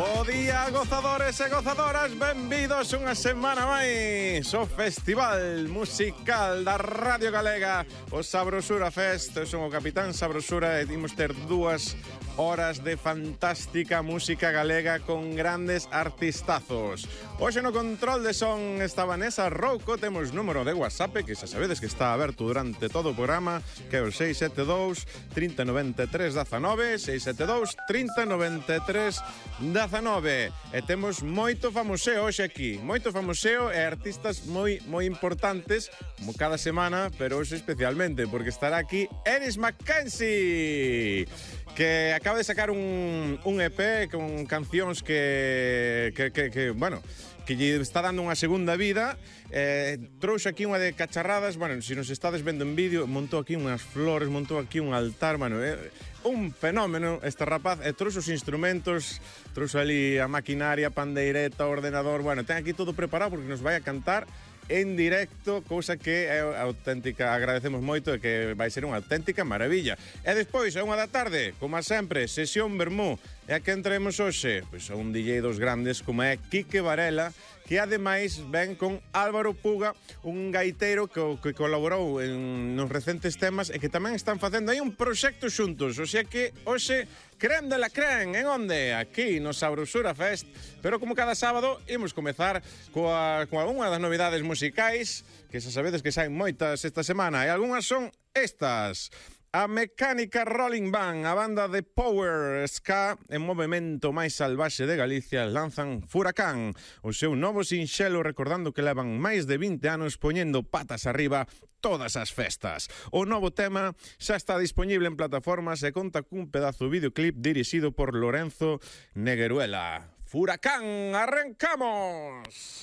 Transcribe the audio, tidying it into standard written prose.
Bo día, gozadores e gozadoras, benvidos unha semana máis ao Festival Musical da Radio Galega, o Sabrosura Fest. Eu son o Capitán Sabrosura e imos ter 2 horas de fantástica música galega con grandes artistazos. Hoxe no control de son está Vanessa Rouco, temos número de WhatsApp que xa sabedes que está aberto durante todo o programa, que é o 672 30 93 19, 672 30 93 19. E temos moito famoseo hoxe aquí, moito famoseo e artistas moi importantes, como cada semana, pero hoxe especialmente, porque estará aquí Ennis Mackenzie, que acaba de sacar un EP con cancións que lle está dando unha segunda vida. Trouxe aquí unha de cacharradas. Bueno, se nos estades vendo en vídeo, montou aquí unhas flores, montou aquí un altar. Bueno, un fenómeno este rapaz. Trouxe os instrumentos, trouxe ali a maquinaria, pandeireta, ordenador. Bueno, ten aquí todo preparado porque nos vai a cantar en directo, cousa que é auténtica, agradecemos moito e que vai ser unha auténtica maravilla. E despois, a 1 da tarde, como sempre, sesión Vermú. E a que entremos hoxe? Pois a un DJ dos grandes como é Quique Varela, que ademais ven con Álvaro Puga, un gaiteiro que colaborou nos recentes temas e que tamén están facendo aí un proxecto xuntos. O sea que hoxe creme de la creme, en onde? Aquí no Sabrosura Fest. Pero como cada sábado, imos comezar coa unha das novidades musicais, que xa sabedes que saen moitas esta semana, e algunhas son estas. A Mecánica Rolling Band, a banda de Power Ska en movimento máis salvaxe de Galicia, lanzan Furacán, o seu novo sinxelo, recordando que levan máis de 20 anos poñendo patas arriba todas as festas. O novo tema xa está disponible en plataformas e conta cun pedazo videoclip dirixido por Lorenzo Negueruela. Furacán, arrancamos!